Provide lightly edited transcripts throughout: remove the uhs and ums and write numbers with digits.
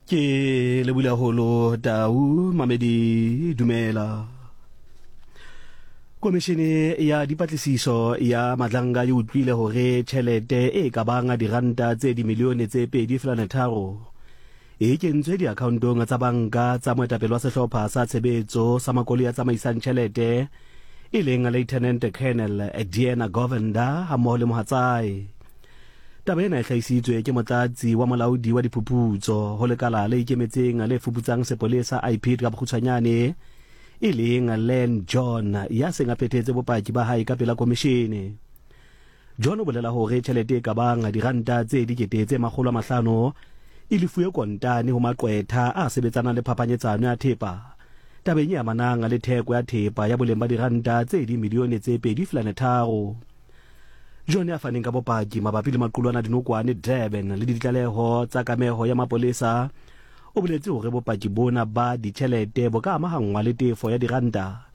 Ke lebule haholo Tau Mamedi dumela. Komishene ya dipatlisiso ya Madlanga e utlwile hore tjhelete e ka bang diranta tse dimilione tse 2.3 e kentswe diakhaontong tsa banka tsa moetapele wa sehlopha sa tshebetso sa makoloi a tsamaisang tjhelete e leng Lieutenant Colonel Diana Govender hammoho le mohatsae. Taba ena e hlahisitswe ke motlatsi wa molaodi wa diphuputso ho lekala le ikemetseng le fuputsang sepolesa IPID ka bokgutshwanyane e leng Len John ya seng a phethetse bopaki ba hae ka pela komishene. John o bolela hore tjhelete e ka bang diranta tse 500,000 e lefuwe kontane ho maqwetha a sebetsanang le phapanyetsano ya thepa tabeng e amanang le theko ya thepa ya boleng ba diranta tse dimilione tse 2.3. John ya faneng ka bopaki mabapi le maqulwana a dinokwane Durban le ditlaleho tsa kameho ya mapolesa o boletse hore bopaki bona ba ditjhelete bo ka amahanngwa le tefo ya diranta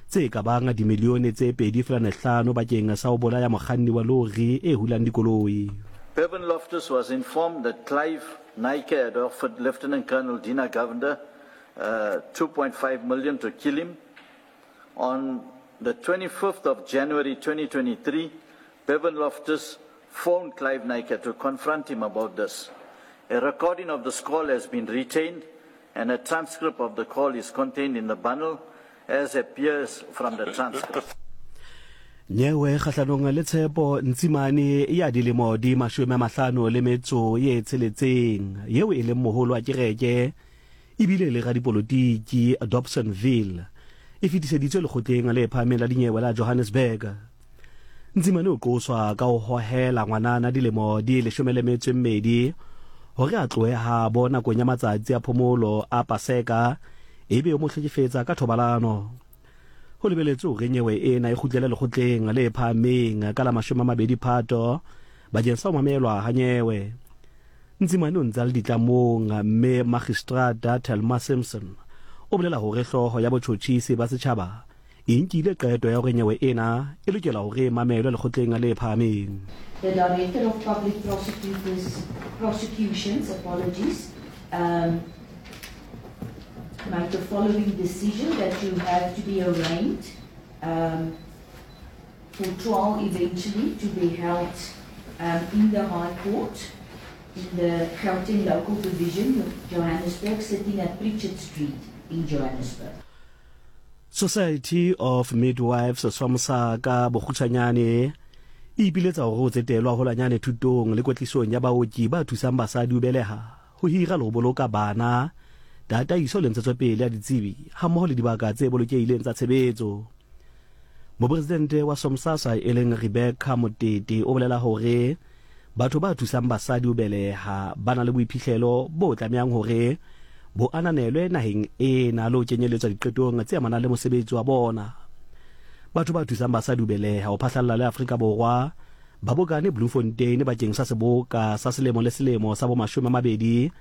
tse ka bang dimilione tse 2.5 bakeng sa ho bolaya mokganni wa lori e hulang dikoloi. Bevan Loftus was informed that Clive Naicker had offered Lieutenant Colonel Dina Govender uh, 2.5 million to kill him. On the 25th of January 2023, Bevan Loftus phoned Clive Naicker to confront him about this. A recording of this call has been retained and a transcript of the call is contained in the bundle as appears from the transcript. Nyewe kgahlanong le Tshepo Ntsimane ya dilemo di 56 yeo e leng moholo wa kereke e bile e le radipolotiki Dobsonville e fetiseditswe lekgotleng le phahameng la dinyewe la Johannesburg. Ntsimane o qoswa ka ho hohela ngwanana dilemo di 12 hore a tlohe habo nakong ya matsatsi a phomolo a Paseka ebe o mo hlekefetsa ka thobalano. Ho lebeletswe hore nyewe ena e kgutlele lekgotleng le phahameng ka la 20 Phato bakeng sa ho mamelwa ha nyewe. Ntsimane o ntse a le ditlamong mme Magistrata Thelma Simpson o bolela hore hlooho ya botjhotjhisi ba setjhaba e nkile qeto ya hore nyewe ena e lokela hore e mamelwe lekgotleng le phahameng. The Director of Public Prosecutors, Prosecutions, apologies, um, made the following decision that you have to be arraigned um, for trial eventually to be held um, in the High Court in the Gauteng Local Division of Johannesburg, sitting at Pritchard Street in Johannesburg. Society of Midwives SOMSA ka bokgutshwanyane e ipiletsa hore ho tsetelwa haholwanyane thutong le kwetlisong ya baoki ba thusang basadi ho beleha, ho hira le ho boloka bana, tataiso le ntshetsopele ya ditsebi hammoho le dibaka tse bolokehileng tsa tshebetso. Mopresidente wa SOMSASA e leng Rebecca Motete o bolela hore batho ba thusang basadi ho beleha ba na le boiphihlelo bo tlamehang hore bo ananelwe naheng ena le ho kenyeletswa diqetong tse amanang le mosebetsi wa bona. Batho ba thusang basadi ho beleha ho phahlalla le Afrika Borwa ba bokane Bloemfontein bakeng sa seboka sa selemo le selemo sa bo 20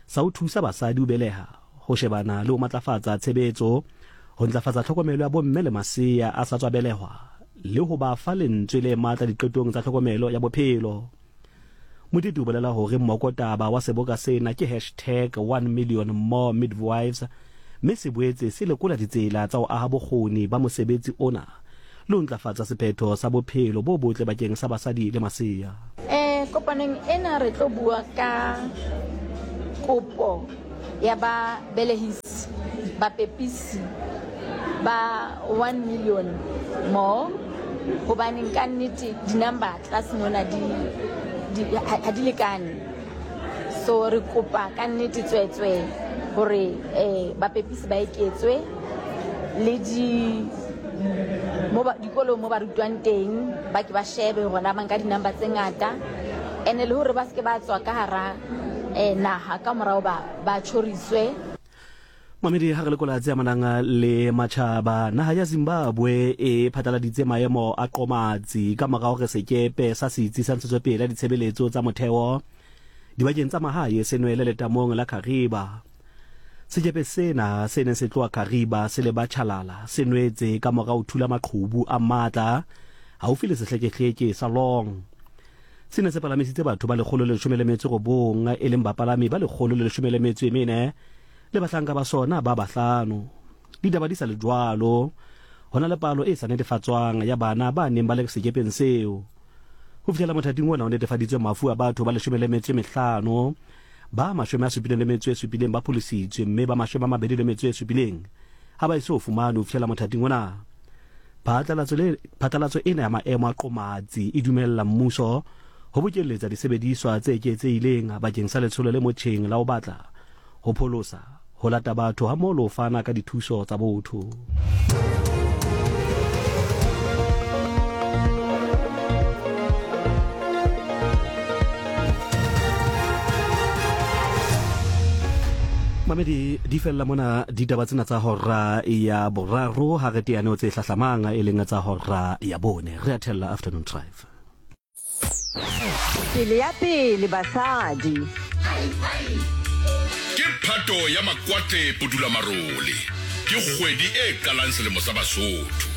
sa ho thusa basadi ho beleha, ho shebana le ho matlafatsa tshebetso, ho ntlafatsa tlhokomelo ya bomme le masea a sa tswa belehwa le ho ba fa lentswe le matla diqetong tsa tlhokomelo ya bophelo. Motete o bolela hore mmokotaba wa seboka sena ke hashtag one million more midwives mme se boetse se lekola ditsela tsa ho aha bokgoni ba mosebetsi ona le ho ntlafatsa sephetho sa bophelo bo botle bakeng sa basadi le masea. Kopanong ena re tlo bua ka kopo ya ba belehisi, bapepisi ba 1 million more, hobaneng ka nnete di-number tlase mona di, di, ha di lekane. So re kopa ka nnete tswetswe hore eh, bapepisi ba eketswe le di mo ba dikolong mo ba rutwang teng ba ke ba shebe hore na ba nka di-number tse ngata ene le hore ba se ke ba tswa ka hara eh, naha ka morao ba ba tjhoriswe. Mamedi ha re lekola tse amanang le matjhaba, naha ya Zimbabwe e phatlaladitse maemo a qomatsi ka mora hore sekepe sa setsi sa ntshetsopele ya ditshebeletso tsa motheo dibakeng tsa mahae se nwele letamong la Kariba. Sekepe sena se neng se tloha Kariba se leba Chalala se nwetse ka mora ho thula maqhubu a matla haufi le sehlekehleke sa Long. Se ne se palamisitse batho ba 119, e leng bapalami ba 114 le bahlanka ba sona ba bahlano. Ditaba di sa le jwalo, ho na le palo e sa netefatswang ya bana ba neng ba le sekepeng seo. Ho fihlela mothating ona ho netefaditswe mafu a batho ba 15, ba 77 ba pholositswe mme ba 27 ha ba eso fumanwe ho fihlela mothating ona. Phatlalatso le phatlalatso ena ya maemo a qomatsi e dumella mmuso ho bokelletsa disebediswa tse eketsehileng bakeng sa letsholo le motjheng la ho batla, ho pholosa, ho lata batho hammoho le ho fana ka dithuso tsa botho. Mamedi, di fella mona ditaba tsena tsa hora ya boraro ha re teane ho tse hlahlamang e leng tsa hora ya bone. Re a thella Afternoon Drive. Pele ya pele basadi. Ke Phato ya Makwate Pudulamarole. Ke kgwedi e qalang selemo sa Basotho.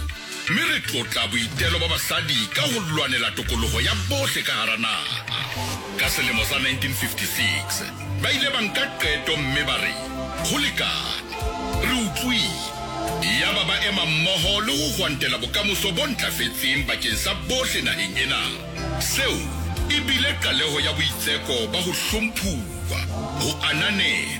Mme re tlotla boitelo ba basadi ka ho lwanela tokoloho ya bohle ka hara naha. Ka selemo sa 1956, ba ile ba nka qeto mme ba re, Ho lekane. Re utlwile. Yaba ba ema mmoho le ho hwantela bokamoso bo ntlafetseng bakeng sa bohle naheng ena. Seo e bile qaleho ya boitseko ba ho hlomphuwa, ho ananelwa.